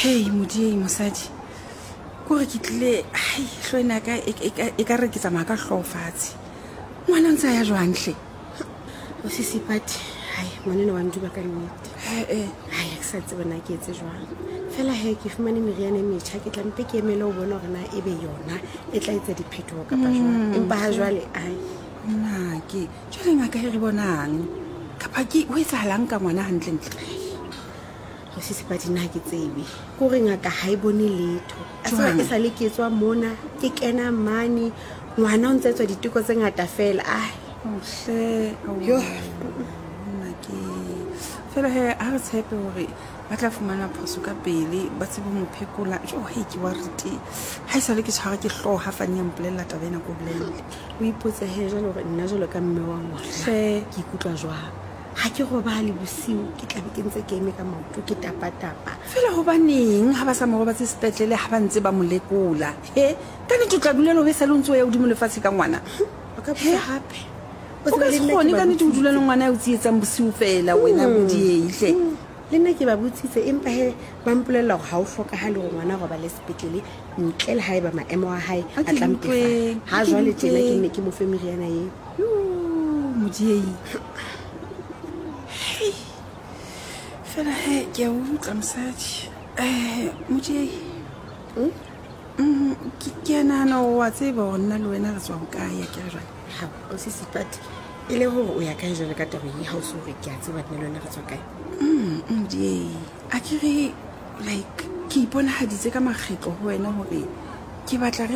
Hei modiei mosadi, kore ke tlile hai hlo ena ka e, e, e ka re ke tsamaya ka hlooho fatshe. Ngwana ntse a ya jwang hle? O sisipati, hai ngwaneno wa nduba ka nnete. Ee. Hai ha ke sa tsebe na ke etse jwang. Fela he ke fumane meriana e metjha, ke tla mpe ke emele ho bona hore na ebe yona e tla etsa diphetoho kapa jwang. Empa ha jwale ai. Na ke jwale ngaka e re bonang kapa ke ho etsahalang ka ngwana hantlentle? Go sisipati nna ha ke tsebe. Ke gore ngaka ha e bone letho. A tseba Jwang? e sa le ke tswa mona, ke kena mane, ngwana o ntse etswa diteko tse ngata fela. Ai. Ohle, Yo. nna ke fela he ha re tshepe hore ba tla fumana phoso ka pele ba tsebe ho mo phekola. Jo hei ke worried. Ha e sale ke tshwara ke hlooho ha Fani a mpolella taba ena ko bolelle. O ipotse he jwale hore nna jwalo ka mme wa ngwana Hle. ke ikutlwa jwang. Ha ke robale bosiu ke tlabe ke ntse ke eme ka maoto ke tapatapa. Fela hobaneng ha ba sa mo robatse sepetlele ha ba ntse ba mo lekola? He, ka nnete o tla dula le ho e sale o ntse o ya hodimo lefatshe ka ngwana? O ka botsa hape. O O ka tsebe se le nna ke kgone ba ka nnete ho dula le botsitse. ngwana ya o tsietsang bosiu fela wena Modiei hle. Le nna ke ba botsitse empa he ba mpolella hore ha ho hlokahale hore ngwana a robale sepetlele ntle le haeba maemo a hae A a ke tla mpefala. utlweng, Ha a ke jwale tjena ke utlweng. nne ke mo fe meriana eo. Yo, Modiei. Hei. Fela he ke a utlwa mosadi. Modiei. Ke a nahana hore wa tseba hore nna le wena re tswa hokae akere jwale. Ha, o sisipati. E le hore o ya kae jwale ka taba e ha o se hore ke a tseba nna le wena re tswa kae? Modiei. Akere like ke iponahaditse ka makgetlo ho wena hore ke batla re